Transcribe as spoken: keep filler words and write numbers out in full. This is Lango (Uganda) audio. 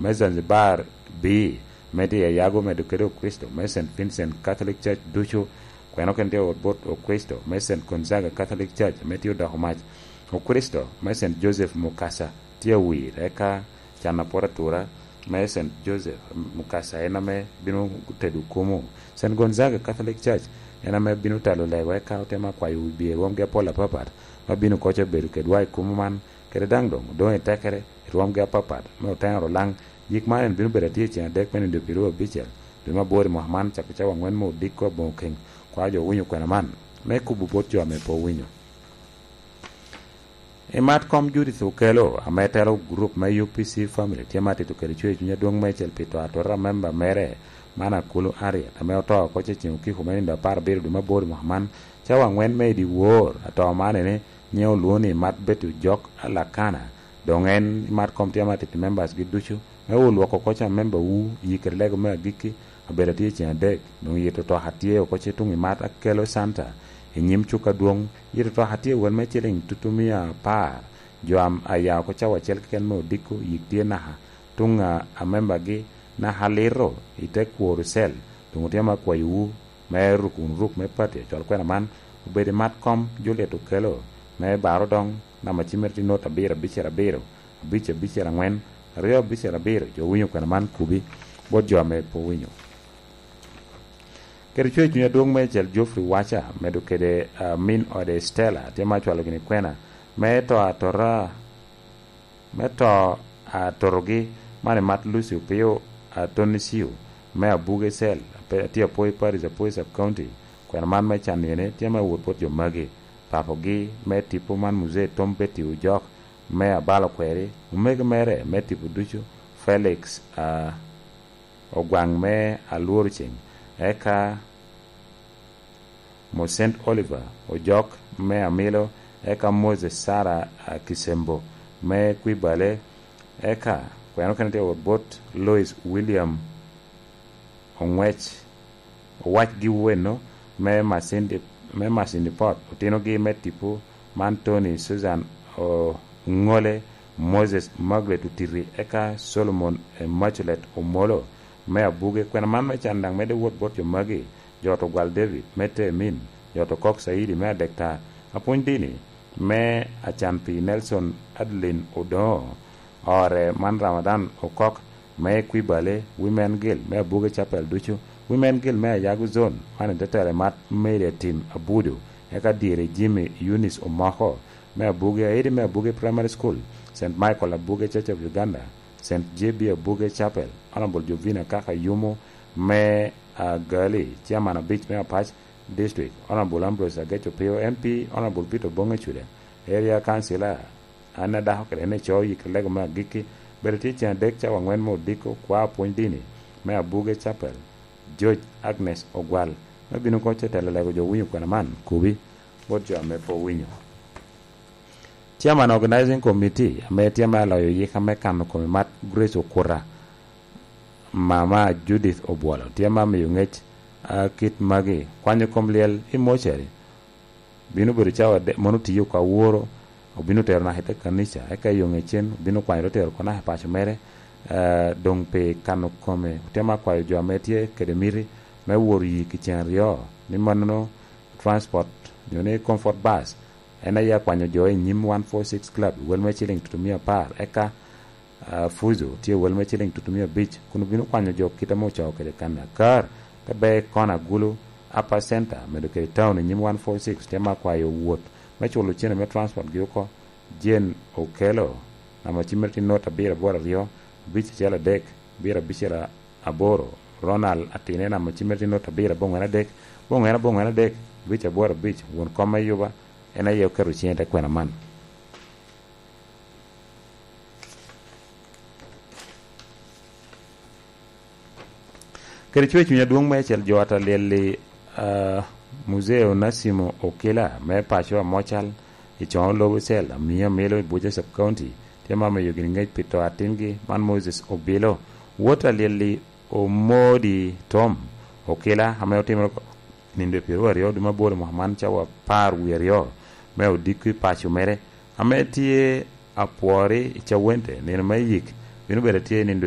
me Zanzibar B, me tye i Ayago, medo kede Okricito me Saint Vincent Catholic Church ducu, kweno kene tye ot bot Okricito me Saint Gonzaga Catholic Church, me tye odoko mac. Okricito me Saint Joseph Mukasa tye awir, eka can apwot atura me Saint Joseph Mukasa en ame bino tedo kumu. Saint Gonzaga Catholic Church en ame bino talo lego, eka otemo akwayo wibye rwomgi apol apapat, ma bino koco bedo kedwa i kumu man, kede daŋ doŋ odoŋ i tekere i rwomgi apapat me otero laŋ. Yik man en bino bedo atye i ceng adek me nindo pyeraryo abicel dwe me aboro i mwaka man, cako cawa aŋwen me odiko aboŋo keŋ. Kwa jo owinyo kwena man, me kubo bot jo ame pe owinyo. I mat kom Judith Okello, ame telo gurup me U P C Family, tye ma tito kede cwer cuny adwoŋ meicel pi to atora a memba mere, man Akulu Harriet, ame oto oko cecen okiko me nindo apar abiro dwe me aboro i mwaka man, cawa aŋwen me i dyewor. Ato man ene nyiŋe olwoŋo ni Mat Betty Ojok Alakana. Doŋ en i mat kom tye ma tito members gi ducu, me wot lwoko oko ca memba wu, yi kede lego me agikki, abedo atye i ceng adek. Doŋ yito to atye oko ce tuŋ i mat Akelo Center, i nyim cuk adwoŋ. Yito to atye wel me ciliŋ tutumia apar. Jo am-, a ya oko cawa acel keken me odiko, yik tye naka tuŋ a, a membagi naka alito i te kworo cell. Doŋ otye ma akwayowu me ruk wunu ruk me pati acwal kwena man, obed i mat kom Juliet Okello, me baro doŋ namba cimmere tye not abiro abicel abiro, abic abicel aŋwen, aryo abicel abiro. Jo winyo kwena man kubi bot jo ame pe owinyo. Kede cwer cuny adwoŋ meicel Geoffrey Wacha, medo kede, ah, min ode Stella, tye ma acwalo gini kwena me to atora, me to atotogi, man i mat Lucy Opio Atonisio, me Abuge Cell, ape-, atye Apoi Parish, Apoi Sub County. Kwena man me can yene tye me wot bot jo magi: papogi me tipo man Muzee Tom Betty Ojok, me Abalo Kweri, omego mere me tipo ducu, Felix, ah, Ogwaŋ me Alworo Ceng, eka Mosent Oliver Ojok me Amilo, eka Moses Sara, ah, Kisembo me Kwibale, eka kweno kene tye wot bot Lois William Oŋwec, Owac gi weno me Masindi, me Masindi Pot, otinogi me tipo man Tony Susan Oŋole, Moses Margaret Otiti, eka Solomon Immaculate Omolo me Abuge. Kwena man me can daŋ medde wot bot jo magi: jo to Gwal David me Temin, jo to Kok Saidi me Adektar, apwony dini me Acan Pi Nelson Adeline Odongo, ore man Ramadan Okok me Kwibale, Women Guild me Abuge Chapel ducu, Women Guild me Ayago Zone, man i te telo i mat Mary Atim Abudu, eka dyere Jimmy Eunice Omoko me Abuge, Aidi me Abuge Primary School, Saint Michael Abuge Church of Uganda, Saint J B Abuge Chapel, Honorable Jovina Kaka Yumo me, ah, Gali, Chairman abic me Apac District, Honorable Ambrose Ageco Pio M P, Honorable Peter Bonge Cuda, Area Councilor, An a dako kede en ico yik lego me agikki, bedo tye cen adek cawa angwen me odiko, kwa pwony dini me Abuge Chapel, George Agnes Ogwal, me bino koc te telo lego jo winyo kwena man, kubi, bot jo ame pe owinyo. Chairman Organizing Committee, ame tye me aloyo yika me kano kome mat, Grace Okuta, Mama Judith Obwolo, tye ma miyo ngec, a, kit magi: kwanyo kom lyel i mortuary, bino bedo cawa ade-, mono tiyo oko aworo, obino tero naka i te kanica, eka i yo ŋecen obino kwanyo te tero oko naka i paco mere. Eh, doŋ pi kano kome, otemo akwayo jo ame tye kede miti me woro yii kicen aryo, ni mannono transport, nyo ni comfort bus, en aye akwanyo jo i nyim one four six Club, wel me ciling tutumia apar, eka ah, Fuzu tye wel me ciling tutumia abic, kun obino kwanyo jo kit ame ocoo kede kan akar, te ber i kona agulu, Upper Center, medo kede town i nyim one four six, te ma kwayo wot me culo cene me transport gi oko. Jane Okello, namba cimmere tye not abiro aboro aryo, abic acel adek, abiro abicel aboro. Ronald Atine, namba cimmere tye not abiro abongwen adek, abongwen abongwen adek, abic aboro abic, won kom me Yuba, en aye oketo ciŋe i te kwena man. Kede cwer cuny adwoŋ meicel jo ata lyel-li, ah, Muzee Onesimo Okila me paco Amocal i Coŋo Lobo Cell, Amio Amilo i Buca Sub County, tye ma omiyo gini ŋec pi to atingi man Moses Obilo. Wot alyel-li Omodi Tom Okila, ame otimere oko nindo pyeraryo dwe me aboro mwaka man, cawa apar wie aryo, me odiko i paco mere, ame tye apwori i Cawente, nino me yik bino bedo tye i nindo